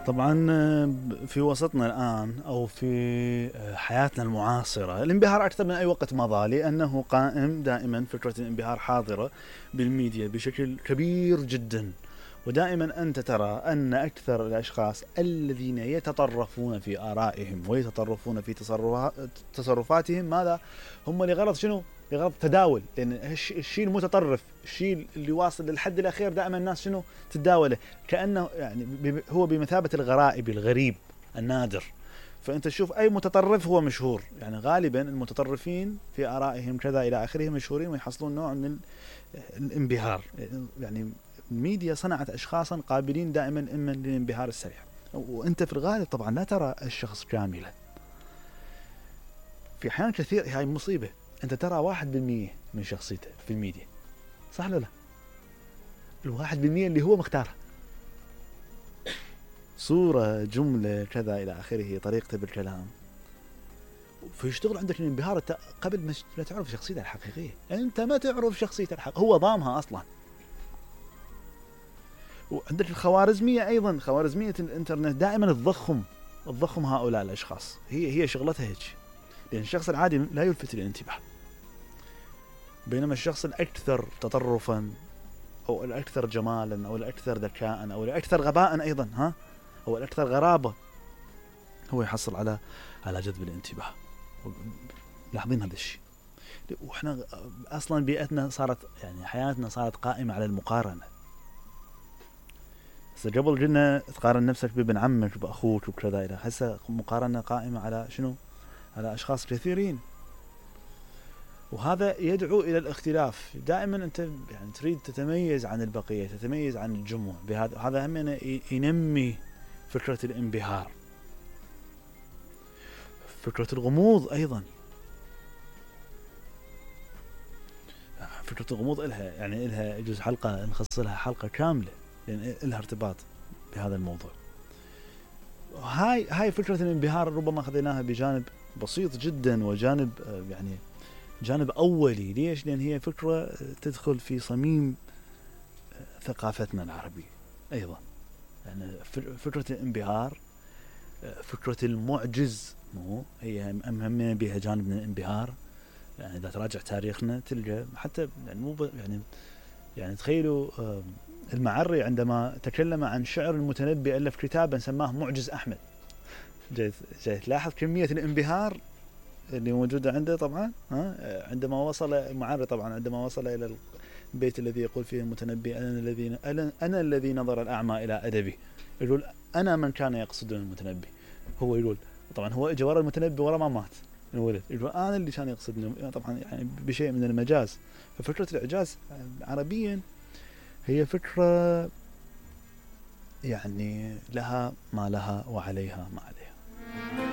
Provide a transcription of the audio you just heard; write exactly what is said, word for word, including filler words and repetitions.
طبعا في وسطنا الآن أو في حياتنا المعاصرة الانبهار أكثر من أي وقت مضى، لأنه قائم دائما فكرة الانبهار حاضرة بالميديا بشكل كبير جدا. ودائما أنت ترى أن أكثر الأشخاص الذين يتطرفون في آرائهم ويتطرفون في تصرفاتهم ماذا هم؟ لغرض شنو؟ لغرض تداول. لأن الشيء المتطرف، الشيء اللي واصل للحد الأخير دائما الناس شنو تتداوله، كأنه يعني هو بمثابة الغرائب، الغريب النادر. فأنت تشوف أي متطرف هو مشهور، يعني غالبا المتطرفين في آرائهم كذا إلى آخره مشهورين ويحصلون نوع من الانبهار. يعني الميديا صنعت أشخاصا قابلين دائما إما للانبهار السريع، وأنت في الغالب طبعا لا ترى الشخص كاملا. في أحيان كثير هاي مصيبة، أنت ترى واحد بالمية من شخصيته في الميديا، صح ولا لا؟ الواحد بالمية اللي هو مختاره، صورة، جملة، كذا إلى آخره، طريقته بالكلام، فيشتغل عندك الانبهار قبل ما لا تعرف شخصيته الحقيقية. أنت ما تعرف شخصيته الحقيقية، هو ضامها أصلا. وعندك الخوارزمية أيضا، خوارزمية الإنترنت دائما تضخم تضخم هؤلاء الأشخاص، هي هي شغلتها هيك. لأن الشخص العادي لا يلفت الانتباه، بينما الشخص الأكثر تطرفا أو الأكثر جمالا أو الأكثر ذكاء أو الأكثر غباء أيضا، ها، أو الأكثر غرابة، هو يحصل على على جذب الانتباه. لاحظين هذا الشيء. وإحنا أصلا بيئتنا صارت، يعني حياتنا صارت قائمة على المقارنة. قبل قلنا تقارن نفسك بابن عمك بأخوك وكذا، إلى هسه مقارنة قائمة على شنو؟ على أشخاص كثيرين. وهذا يدعو إلى الاختلاف. دائما أنت يعني تريد تتميز عن البقية، تتميز عن الجموع. بهذا هذا هم ينمي فكرة الانبهار. فكرة الغموض أيضا، فكرة الغموض إلها يعني إلها يجوز حلقة نخصص لها حلقة كاملة، لأن إلها ارتباط بهذا الموضوع. هاي هاي فكرة الانبهار ربما خذيناها بجانب بسيط جدا، وجانب يعني جانب أولي. ليش؟ لأن هي فكرة تدخل في صميم ثقافتنا العربية أيضا. يعني فكرة الانبهار، فكرة المعجز، مو هي أهم بها جانب من الانبهار. يعني إذا تراجع تاريخنا تلقى حتى يعني مو يعني يعني تخيلوا المعري عندما تكلم عن شعر المتنبي ألف كتابا سماه معجز أحمد. جاي جاي تلاحظ كمية الانبهار اللي موجودة عنده طبعا. ها عندما وصل المعري طبعا عندما وصل إلى البيت الذي يقول فيه المتنبي أنا الذي أنا الذي نظر الأعمى إلى أدبي، يقول أنا من كان يقصد المتنبي. هو يقول طبعا هو إجا ورا المتنبي ورا ما مات الولد، يقول أنا اللي كان يقصدني، طبعا يعني بشيء من المجاز. ففكرة الإعجاز عربيا هي فكرة يعني لها ما لها وعليها ما عليها.